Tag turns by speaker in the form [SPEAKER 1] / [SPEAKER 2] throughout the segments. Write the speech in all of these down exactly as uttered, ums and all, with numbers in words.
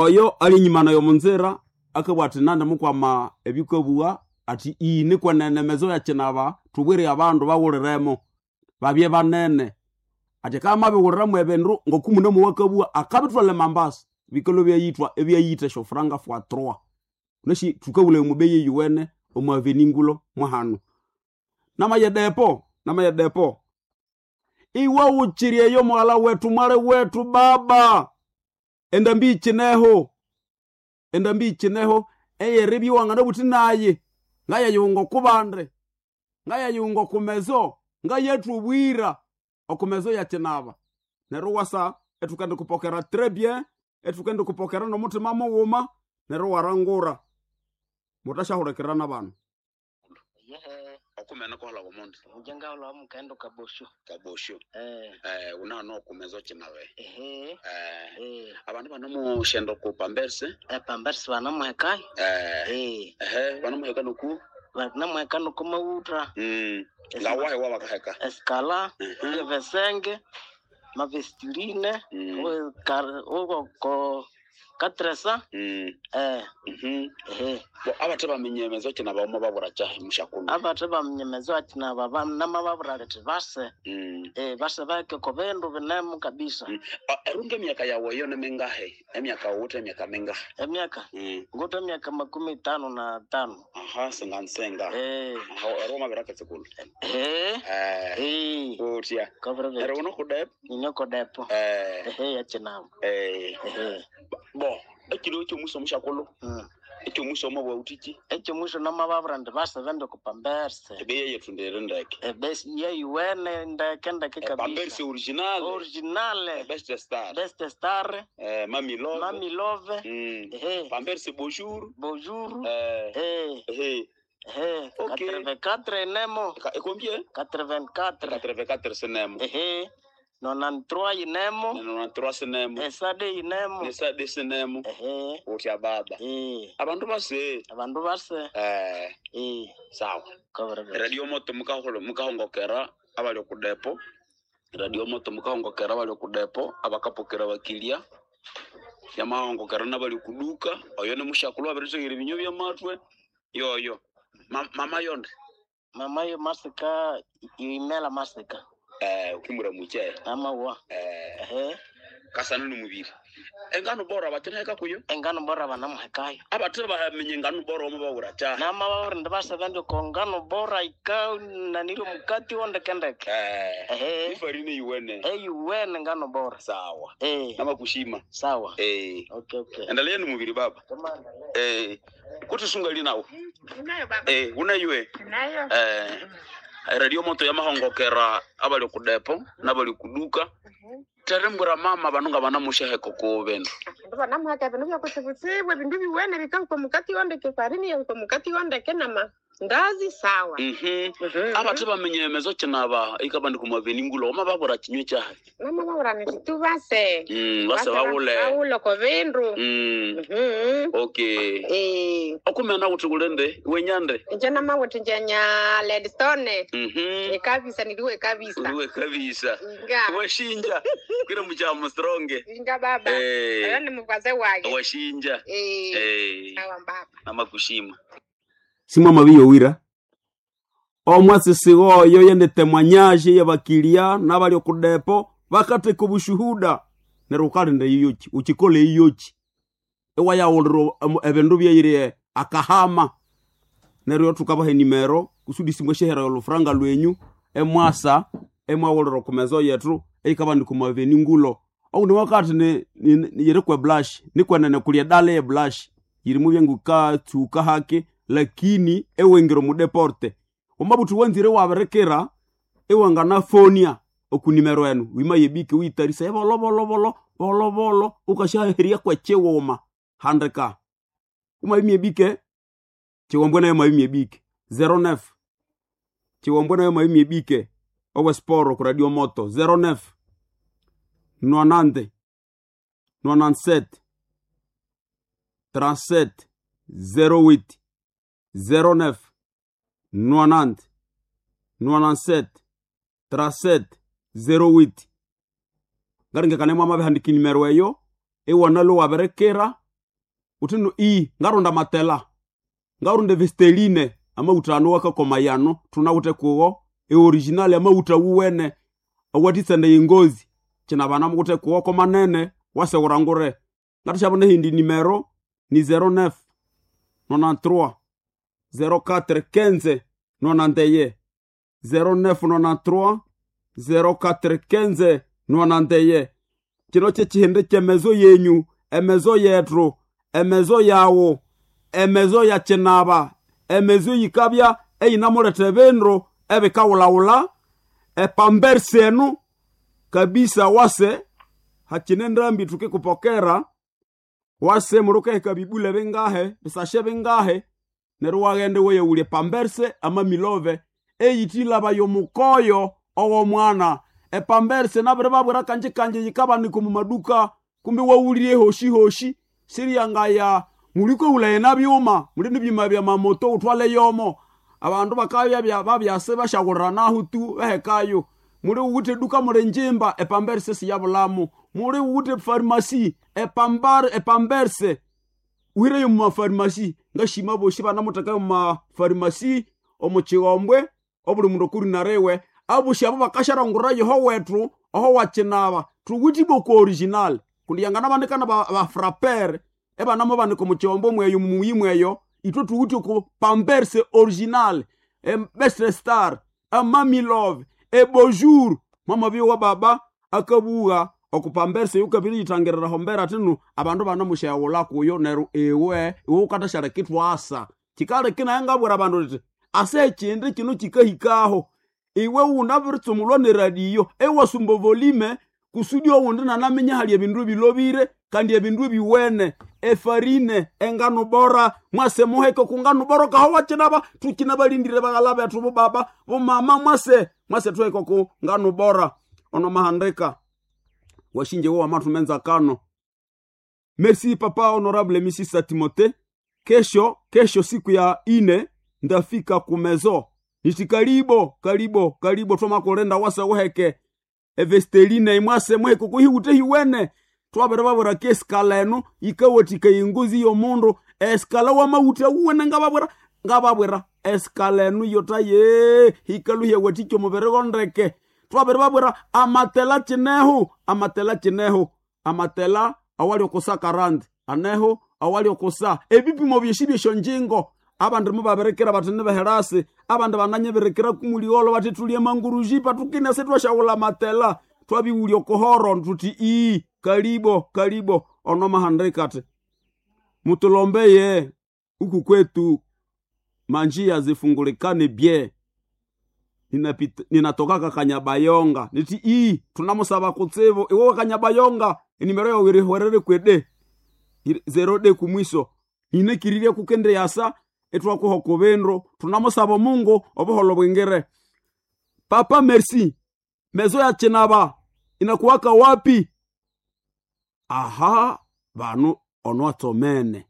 [SPEAKER 1] Oyo ali enyuma nayo omunzira akabugha athi nandi mukwama ebyukabugha athi iyi nikwenene emezo ya kinaba thubwire abandu baghuliremo babye banene athi akabya amabighuliramu ebindu ngoku munamu akabugha akabithwalha emambasa bikalhwa ibyayithwa ibyayitha esyofuranga fois trois wunasi thukabulhaya omu beyi eyuwene omu avenue ngulo mwahanu namaya depo namaya depo iwe wukyiri eyo mughalha wethu mwali wethu baba endambi yikineho endambi yikineho eyeribya iwanganabuthi nayi ngayayunga okubandi ngayayunga okumezo ngayathubwira okumezo yakinaba neryo iwasa ithukendikupokera très bien ithukendikupokera nomuthima mughuma neryo iwarangura muthasyahulhikirira nabanu
[SPEAKER 2] Yehe,
[SPEAKER 1] okumene kuholha omundu
[SPEAKER 2] inje ngahulha mukaghenda kabosho.
[SPEAKER 1] kabosho
[SPEAKER 2] Eh,
[SPEAKER 1] eh unano okumezo kinabe
[SPEAKER 2] ehe,
[SPEAKER 1] eh
[SPEAKER 2] eh,
[SPEAKER 1] abandu banamushenda ku pamberse
[SPEAKER 2] epambersi banamuhekayo.
[SPEAKER 1] eh
[SPEAKER 2] Eh,
[SPEAKER 1] ehe banamuheka noku
[SPEAKER 2] banamuheka nokumawutha.
[SPEAKER 1] mm ngawahe wabakaheka
[SPEAKER 2] Esikala,
[SPEAKER 1] Mhm.
[SPEAKER 2] ebesenge, mavestirine,
[SPEAKER 1] Mm.
[SPEAKER 2] ukoko katresa,
[SPEAKER 1] mm
[SPEAKER 2] eh,
[SPEAKER 1] mhm
[SPEAKER 2] ehe.
[SPEAKER 1] bo abathe bamenye emezo kinaba omo babura kyahe mushakulu
[SPEAKER 2] Abathe bamenye akinaba namababura bethi base,
[SPEAKER 1] mm
[SPEAKER 2] eh, base baheke oko bindu binemu kabisa.
[SPEAKER 1] Mm. Ah, erunga emyaka yawe eyo nimingahe emyaka wuthe emyaka mingahe
[SPEAKER 2] Emyaka,
[SPEAKER 1] mm
[SPEAKER 2] nguthe emyaka makumi tano na tano.
[SPEAKER 1] aha singansenga
[SPEAKER 2] Eh,
[SPEAKER 1] aha ero mabiraketsekulu
[SPEAKER 2] ehe,
[SPEAKER 1] eh
[SPEAKER 2] eh,
[SPEAKER 1] utya
[SPEAKER 2] kabiri
[SPEAKER 1] ero unokudepo
[SPEAKER 2] Ninyoko depo.
[SPEAKER 1] eh
[SPEAKER 2] Ehe, yakinaba.
[SPEAKER 1] eh
[SPEAKER 2] Ehe.
[SPEAKER 1] bo ekiro ekyomusa omushakulu
[SPEAKER 2] Mm.
[SPEAKER 1] ekyomusa omo bwautiki
[SPEAKER 2] Ekyomusho namababura indi base bende kupamberse.
[SPEAKER 1] ebeyi yethu ndiri ndeke
[SPEAKER 2] Ebesi yeyuwene ndeke ndeke kabisa.
[SPEAKER 1] pamberse original
[SPEAKER 2] Originale.
[SPEAKER 1] best star
[SPEAKER 2] Best star.
[SPEAKER 1] eh mami love
[SPEAKER 2] Mami love.
[SPEAKER 1] mm
[SPEAKER 2] Ehe.
[SPEAKER 1] pamberse bonjour
[SPEAKER 2] Bonjour.
[SPEAKER 1] eh
[SPEAKER 2] Eh.
[SPEAKER 1] eh
[SPEAKER 2] Ehe.
[SPEAKER 1] Okay.
[SPEAKER 2] Quatre-vingt-quatre inemo.
[SPEAKER 1] Ka- e combien
[SPEAKER 2] Quatre-vingt-quatre.
[SPEAKER 1] quatre-vingt-quatre sinemo
[SPEAKER 2] Ehe. Nonante-trois inemo.
[SPEAKER 1] nonante-trois sinemo
[SPEAKER 2] Esade inemo.
[SPEAKER 1] nesade sinemo
[SPEAKER 2] Ehe.
[SPEAKER 1] utya baba
[SPEAKER 2] Eh.
[SPEAKER 1] abandu base
[SPEAKER 2] Abandu base.
[SPEAKER 1] eh
[SPEAKER 2] Eh.
[SPEAKER 1] sawa
[SPEAKER 2] Kabiri
[SPEAKER 1] radio moto mukaholo mukahongokera abali okudepo radio moto mukahongokera abali okudepo abakapokera bakilia yamahongokera nabali okuduka oyo ni mushakulu abirithegera ebinyo byamatwe yoyo Ma, mama yonde
[SPEAKER 2] Mama yo masika imela masika.
[SPEAKER 1] eh ukimura muche
[SPEAKER 2] Amawa.
[SPEAKER 1] eh
[SPEAKER 2] Ehe.
[SPEAKER 1] kasana ni mubiri engano bora batinaheka kuyo
[SPEAKER 2] Engano bora banamuhekayo.
[SPEAKER 1] abathe bamenye engano bora omo bawura kyaha
[SPEAKER 2] Nama babura ndi base bende kongano bora ika naniro mukati wondekendeke.
[SPEAKER 1] eh
[SPEAKER 2] Ehe.
[SPEAKER 1] ifarine yuwene
[SPEAKER 2] Eyuwene ngano bora.
[SPEAKER 1] sawa
[SPEAKER 2] Eh.
[SPEAKER 1] namakushima
[SPEAKER 2] Sawa.
[SPEAKER 1] eh
[SPEAKER 2] Okay okay.
[SPEAKER 1] endelea ni mubiri baba
[SPEAKER 2] Kamanda.
[SPEAKER 1] eh kuti nawo
[SPEAKER 3] Nayo baba.
[SPEAKER 1] eh unayue
[SPEAKER 3] Nayo.
[SPEAKER 1] eh radio moto yamahongokera abali okudepo nabali okuduka terembwera mama bano nga banamusheheko ku bindu
[SPEAKER 3] Ndibona namuhaka bindu byakutsibutsibu ebindu biwene bikahika omukati wondeke farini yahika omukati wondeke nama ndazi sawa.
[SPEAKER 1] mhm abathe bamenye emezo kinaba ikabandi kumaveni ngulo oma babura kinywe kyahe
[SPEAKER 3] Mama babura niti tubase.
[SPEAKER 1] mm base bawule
[SPEAKER 3] Bawule ko bindu.
[SPEAKER 1] mm
[SPEAKER 3] Mhm.
[SPEAKER 1] okay
[SPEAKER 3] Eh.
[SPEAKER 1] okumena kuti kulende wenyande
[SPEAKER 3] Nje namawuthi njenya Ledstone.
[SPEAKER 1] mhm
[SPEAKER 3] Ekabisa niliwe kabisa.
[SPEAKER 1] uliwe kabisa
[SPEAKER 3] Inga.
[SPEAKER 1] washinja kwira muchamo stronge
[SPEAKER 3] Inga baba. Oyo
[SPEAKER 1] eh
[SPEAKER 3] ni mukwaze wage.
[SPEAKER 1] washinja
[SPEAKER 3] Eh.
[SPEAKER 1] eh
[SPEAKER 3] Sawa baba.
[SPEAKER 1] namakushima
[SPEAKER 4] simwama biyowira omwasisi oyo yenditemwanyaje yebakilia nabali okudepo bakatheka obushuhuda neryo wukalinda eyoki ukikola eyoki iwayawulira emu- ebindu byeyiri akahama neryo thukabaha enimero kusudi simweshehera olufuranga lwenyu emwasa emwawulira okumezo yethu eyikabandika omu aveni ngulo oundi wakati ni- ni- ni- yiri kwe blush nikwenene kuli edala ye blush yirimu byengukatsuka hake lakini ewengire omudeporte omabuthi wanzire wabirikira iwanganafonia okunimero enu wima yebike witarisa ebolobolobolo bolobolo ukashaheria kwechiwuma handika umaimie bike chiwombwe nayo maimie bike zero nef chiwombwe nayo maimie bike owe sporo ku radio moto zero nef nonante nonanset trente-sept zéro huit zéro neuf nonante nonante-sept trente-sept zéro huit ngaringekane mwamabihandika inimero eyo iwanalo wabirekera
[SPEAKER 1] Utino i ngaronda matela ngaronda vesteline amauta ano wakakoma yano tunawute kuwo eoriginal amauta wuwene awatitsende yengozi kina bana mukute kuwo komanene wasewurangure ngatushabona hindi nimero ni zero nine nonante-trois zero quatre quinze nonante zero nine nonante-trois zero quatre quinze nonante. Kino kyekihindi kyemezo yenyu, emezo yethu, emezo yawu, emezo ya kinaba, emezo yikabya eyinamuletha ebindu ebikawulawula epambersi enu kabisa. Wase hakine ndambi tukikupokera wase murukaheka bibule bingahe bisashe bingahe neryo waghenda weyawulya epamberse amamilove eyitilaba yomukoyo ow'omwana. Epamberse nabiribabwira kanji kanji yikabanika omu maduka kumbi wawulire hoshi hoshi siriyangaya mulikowulaye nabyuma muli nibyuma bya mamoto utwale yomo abandu bakabya babyase bashaghuliranaho tu behekayo. Muli wuwithe eduka muli njimba epamberse siyabulamu, muli wuwithe farmasi epambar epamberse uhireyo mumafarmasi ngashima bosi banamuthekayo mumafarmasi omu kighombwe obuli mundu okurinariwe abosi abo bakasharangurira yoho wethu oho wakinaba thuwithe iboko original kundi yanganabandikana bafrapere ebanamubanika omu kighombwe mweyo mumuyi mweyo ithwe thuwithe oku pamberse original ebest star amamilove ebonjour mwamabyowa baba akabugha okupamberse yukabiriyithangirira hombera thinu abandu banamusyaghulha kuyo neryo iwe iwe wukathashaleka ithwasa kikaleka naye ngabwira abandu indi ase ekindi kino kikahikaho iwe wunabiritsumulwa neradiyo ewasumba volume kusudi owundi nanaminya hali ebindu ebilobire kandi ebindu ebiwene efarine engano bora mwase muheke kungano bora kaho wakinaba tukinabalindire baghala bethu bobaba bomama mwase mwase tuheke ku ngano bora ono mahandika washinje wo wamathumenza kano. Merci papa honorable Misisa Timote. Kesho kesho siku ya ine ndafika kumezo niti karibo karibo karibo twamakulenda wase wuheke evesteline imwase muheke kuhiwute hiwene twabere babwira kesikala eno yikawathika engozi y'omundu esikala wamawutha wuwene ngababwira ngababwira esikala eno yotaye hikaluhya wathikya omubiri gondeke. Twabere babwira amatela kineho amatela kineho amatela awali okusa karandi aneho awali okusa ebipimo byeshi byeshonjingo abandu mubabirikira bathi nibeherasi abandu bananyibirikira kumuliolo bathi tulye manguruji patukine sitwashaghulha matela twabiwulya okuhoro thuthi ii kalibo kalibo ono mahandika ati mutulombeye uku kwetu manjia zifungulikane bye ninapita ninatokaka Kanyabayonga niti ii tunamusaba kutsibu iwe Kanyabayonga enimero yawe irihwerere kwede zero de kumwiso ninekiririe kukende yasa etwakuha kubindu tunamusaba Mungu obuholo bwingire. Papa merci mezo ya chinaba inakuwaka wapi? Aha banu ono atsomene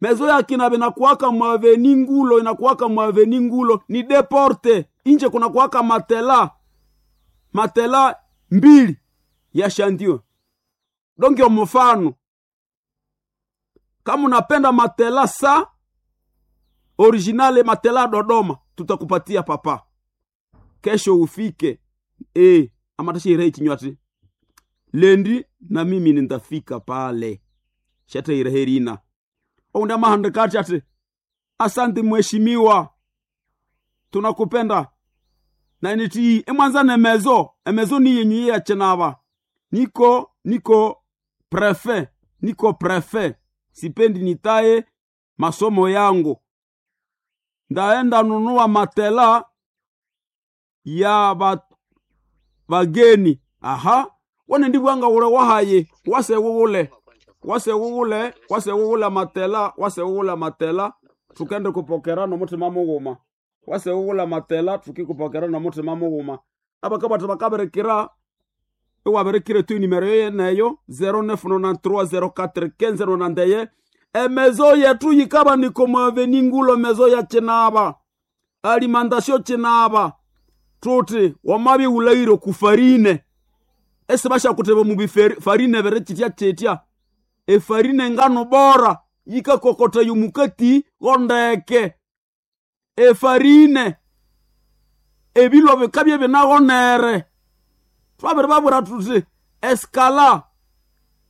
[SPEAKER 1] mezo ya kinaba inakuwaka mwaveni ngulo inakuwaka mwaveni ngulo ni deporte inje kunakuwaka matela matela mbili ya shandio donge mfano kama unapenda matela sa originale matela Dodoma tutakupatia papa kesho ufike e amatashire kinywati lendi na mimi nitafika pale shataire herina ounda mahandikati ati asante mheshimiwa tunakupenda na niti emwanza nemezo emezo ni yenyu ya chinaba niko niko prefe niko prefe sipendi nitaye masomo yangu ndaenda nunua matela ya ba, bageni. Aha wane ndibwanga ule wahaye wase wuwule wase wuwule wase wuwule matela wase wuwule matela tukende kupokera nomutima mughuma wase wuwule matela tukikupokera nomutima mughuma abakabata bakabirikira iwabirikire tu nimero yeneyo zero nine nine three zero four one five nine emezo yetu yikaba niko mwaveni ngulo mezo ya chinaba alimentation chinaba tuti wamabi ulairo kufarine ese bashakuteba mu farine bere chitya chitya Efarine engano bora yikakokotaya omukati gondeke. Efarine ebilwa bikabya binaghonere. Twabiribabwira thuthi esikala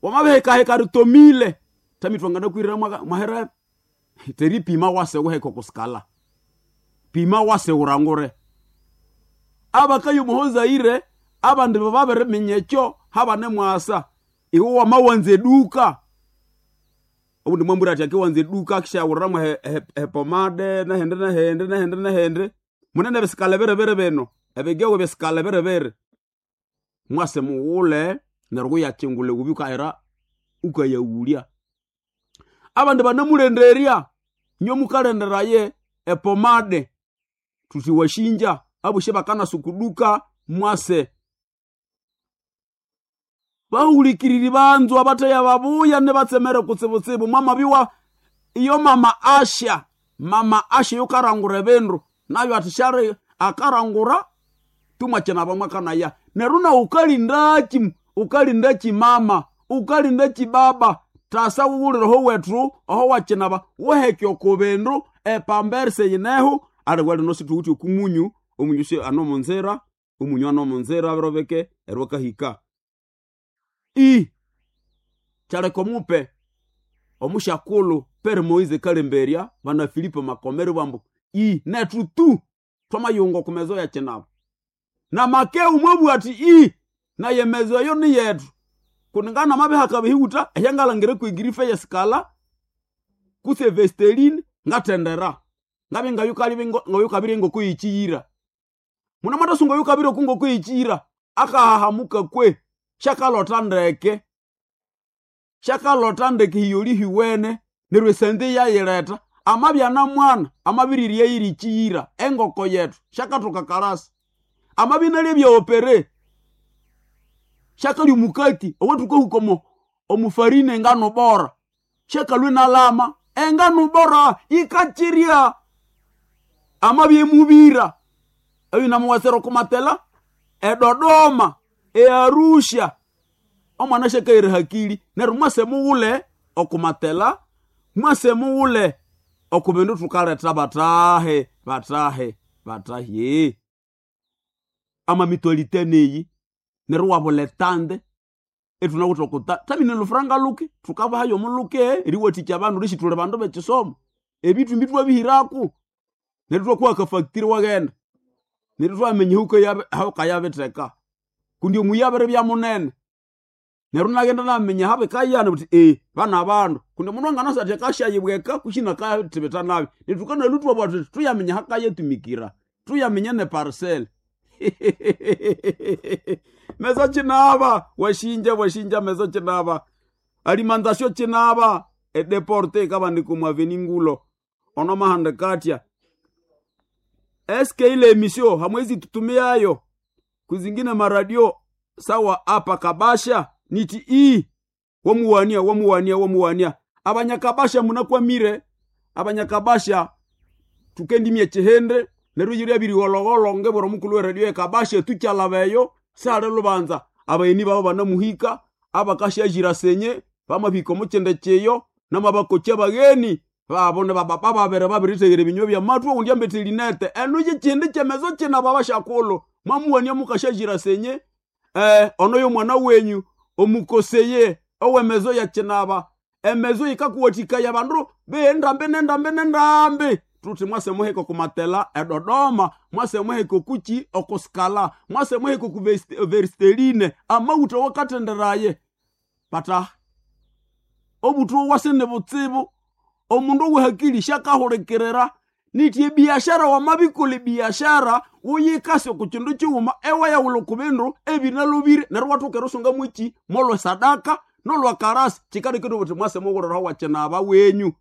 [SPEAKER 1] wamabihekaheka ritomile tami twanganakwirira mwaherebe teripima wase wuheka okusikala pima wase wurangure. Abakayo omuhozaire abandi babiriminya ekyo habane mwasa iwe wamawanza eduka obundi mwambwira athi akiwanza eduka akishawuriramu hepomade nehindi nehindi nehindi nehindi munene ebisikala biribiri bino ebigewe bisikala biribiri mwase mughule neryo wuyakingula ewubi wukahera wukayawulya. Abandi banamulenderya inywe mukalenderaye epomade thuthi washinja abosi bakanasa okuduka mwase. Bahulikiriri banzwa abatheya babuya nibatsemere kutsibutsibu mwamabyowa iyo mama Asha mama Asha yukarangura ebindu nayo athi syali akarangura tumwakyinaba mwakanaya neryo nawu ukalindaki ukalindaki mama ukalindaki baba tasa wuwulire oho wethu oho wakyinaba wuheke oko bindu epamberse yineho aliwe lino situwithe okumunyu omunyu si anomunzira omunyu anomunzira abirobeke eryo akahika. I kyaleka omupe omusyakulhu Pere Moise Kalemberya bana Filipo Makomere bambu i nethu tu twamayunga oku mezo ya kinaba. Na Makeu mwabugha athi i naye emezo eyo niyethu kundi nganamabihaka bihiwutha ehyangalhangira kwegirife yesikala kutse evesteline ngathendera ngabya ngayukabirya engoko yekyiyira. Munamathasunga oyukabirya oku ngoko yekyiyira akahahamuka kwe syakalotha ndeke syakalotha ndeke hiyoli hiwene neryo esente iyayiletha amabya namwana amabirirya yiri kyiyira engoko yethu syakathoka kalasi. Amabya inalya ebya opere syakalya omukati owathukahuka omo omufarine engano bora syakalhwa inalama engano bora yikakyirya. Amabya emubira oyu namuwatsira okumatela eDodoma eArusha omwana syakaghira hakili neryo mwase mughule okumatela mwase mughule oku bindu thukaletha bathahe bathahe bathahe. Amamitualite neyi neryo iwabula etande ithunawithe okuta thamine lhufuranga luke thukabahayo omuluke eriwathikya abandu lyesi thuli bandu bekisomo ebithumbi ithwabihiraku neryo ithwakuha akafactory iwaghenda neryo ithwaminya ahawukayabitheka kundi omuyi abiribya munene neryo inaghenda inaminya ahabikayana buthi ee bana bandu kundi omundu anganasa athi akasyayibweka kwisi inakathibitha nabi neryo thukanalwa ithwabugha thuthi thuyaminya ahakayatumikira thuyaminya neparcel. Mezo kinaba washinja washinja mezo kinaba alimantasio kinaba edeporte ikabandika omu aveni ngulo ono mahandika eske ile emisio hamwezi tutumiayo kuzingine maradio sawa apa Kabasha niti i wamuwania wamuwania wamuwania abanyakabasha munakwamire abanyakabasha tukendimye chihende neryo yiri abirighologholho ngebwera omukulhu weradio ekabasha tukyalabeyo sihali lubanza abayeni babo banamuhika abakasyazira senye bamabihika omukyende kyiyo namabakokya abagheni babo nibababa babiri babiritheghera ebinywa byamathu owundi ambethe elinete enu yikyindi kyemezo kinaba basyakulhu mwamuwania mukasyazira senye eh, ono yomwana wenyu omukoseye owemezo yakinaba emezo yikakuwathikaya abandu beendambi nendambi nendambi thuthi mwase muhika okumatela eDodoma mwase muhika okuki okusikala mwase muhika oku veristeline amawutha awakathenderaye bata obuthu owase nibutsibu omundu owehakili syakahulikirira nithi ebiashara wamabikolha ebiashara wuyikase oku kindu kighuma ewayawulha oku bindu ebinalhobire neryo iwathoka erisunga mwiki mwolwa sadaka nolwa karasi kikalekire uthi mwase mughulira wakinaba wenyu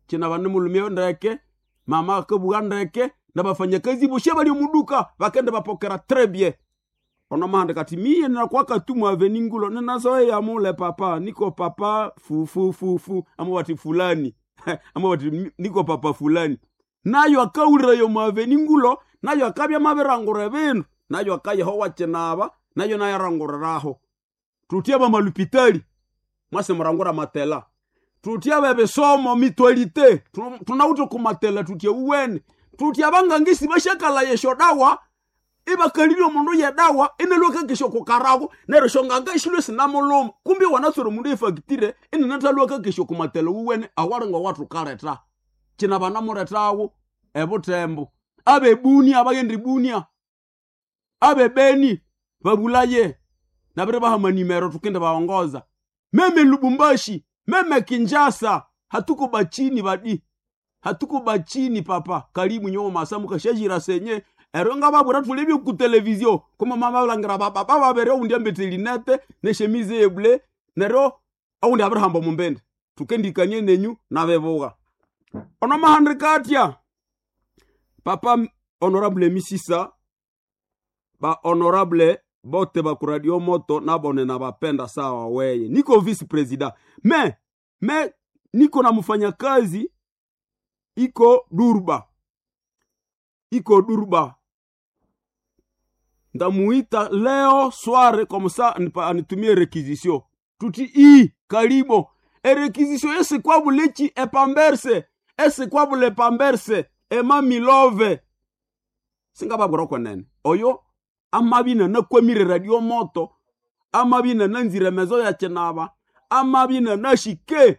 [SPEAKER 1] kinaba nimulhumya ndeke mama akabugha ndeke nabafanyakazi bosi abali omuduka bakende bapokera très bien ono mahandika athi miye nakwakatumwa aveningulo ninazoeya mule papa niko papa fufufufu ama wati fulani ama wati niko papa fulani nayo akawulirayo mwaveningulo nayo akabya mabirangura ebindu nayo akayeho wakinaba nayo nayaranguriraho thuthi abamalupitali Mwase murangura matela. Tutia bebisomo mitwalite. Tunawute kumatela tutia uwene. Tutia bangangisi bashakala yesho dawa. Ibakalile omundu yedawa inelweka kesho kukarago neryo shonganga ishilwe sinamuluma kumbi wanatswere omundu efactire inenathalweka kesho kumatela uwene awalinga watukaleta kina banamuletawo ebutembo abebunia abaghenda ibunia abebeni babulaye nabiri baha nimero tukende baongoza meme Lubumbashi meme Kinshasa hatuko bachini badi hatuko bachini papa karibu nyowo masamu kashajira senye ero nga babwira thuli ku televizio kuma mama balangira baba bababere oundi ambete linete neshemize yeble neryo oundi abirihamba omumbende tukendikanie nenyu nabebuga ono mahandika atya papa honorable misisa ba honorable bote ba kuradio moto nabone nabapenda sawa weye niko vice president me me niko na mfanyakazi iko Durba iko Durba ndamuita leo soir comme ça anitumie requisition tuti i karibo erequisition esikwabuleki epamberse esikwabule pamberse emamilove singababwira kwenene oyo amabina nakwamire radio moto amabina nanzire mezo ya chinaba amabina nashike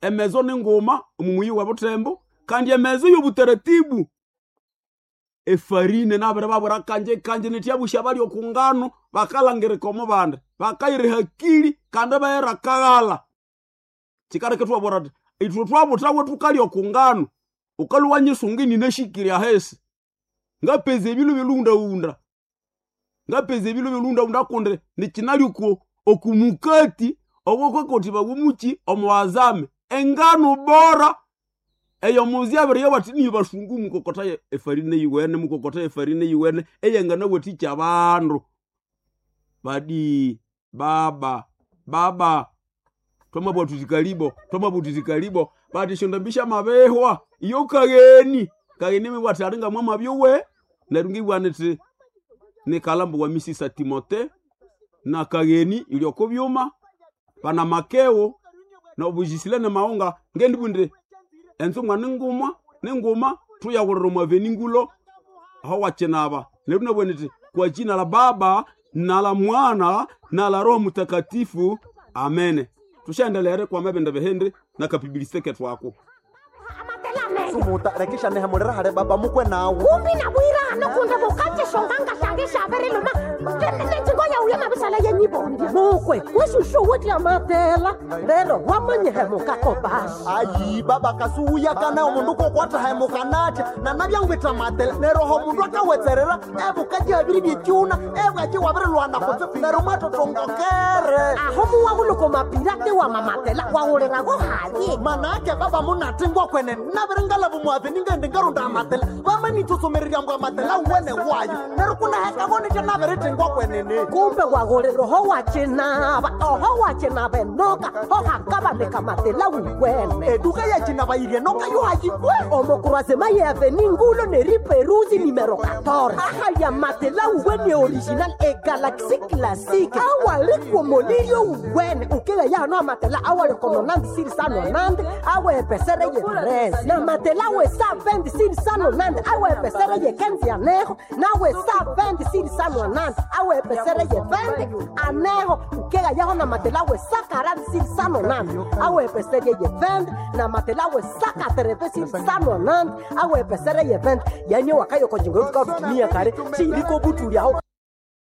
[SPEAKER 1] emezo ninguma omumuyi wa butembo kandi emezo y'obutaratibu efarine nabere babwira kanje kanje nityabusha bali okungano bakalangirika omu bandi bakayira hakili kandi bayira kaghala chikareke twabwira ati ithwe twabuthawe tukalya okungano ukaluwa nyisunga ninashikirya hesi ngapeza ebilu bilundaunda ngapeza ebilu bilundaunda kundi nikinali oku okumukati owokwekoti bagumuki omuwazame engano bora eyo muzi abiri yabati niyo basungu mukokota efarine yiwene mukokota efarine yiwene eyengana wetikya abandu badi baba baba twamabwa tuti kalibo twamabwa tuti kalibo bati shondambisha mabehwa iyo kageni kageni mibwati alinga mwamabyowe neryo ngibwa niti nikalambo wa misisa Timote na kageni ilyoko byuma pana makeo na obujisile ne maunga ngendibundire enzumwa ninguma ninguma tuyawulira omwaveni ngulo aho wakinaba neryo nabwe niti kwa jina la Baba na la Mwana na la Roho Mtakatifu amene tushaendelere kwa mabende behende na kapibilisite ketwako
[SPEAKER 5] sumuta rekisha nehemulira hale baba mukwe nawu
[SPEAKER 6] kumbi nabwira nokunda bukatse shonganga shange shaberiluma nenjingo yauye mabisala yenyibondi mukwe weshushu wotya matela lero wamanyihemuka kobasi
[SPEAKER 5] ayi baba kasuwuyakana omundu kokwathahemuka natya nanabyangwitha matela neroho omundu akawetserera ebukaji habiri byekyuna ebwaki wabirilwana kutse nero mwatotongokere
[SPEAKER 6] aho muwahuluko mapirate wa mamatela wawulirago haye
[SPEAKER 5] manake baba munatingwa kwene nabiringalavu mwave ningendi ngarunda amatela vamanitsosomererya mbwa amatela wene wayo nero kunahekavo nitya nabiritingwa kwenene
[SPEAKER 6] kumbe wagulira oho wacinava oho wacinava enoka ohakavaneka matela wuwene
[SPEAKER 5] eduka yacinava yirye noka yohayikwe
[SPEAKER 6] omokurasema yeaveni ngulo neriperuzi nimero quatorze ahaya matela wuwene original e galaxy classique awalikuomolirio wuwene ukila yano amatela awalikononandi sirisanonandi awepesere ye tres na matela we sa venti sirisanonandi awepesere ye kenzi aneho nawe sa venti sirisanonandi awepesere ye venti aneho ukela yaho na matela we sa quarante sirisanonandi awepesere ye venti na matela we sa katereve sirisanonandi awepesere ye venti yani wakayokonjingo tukatumia kare chiliko butulyaho.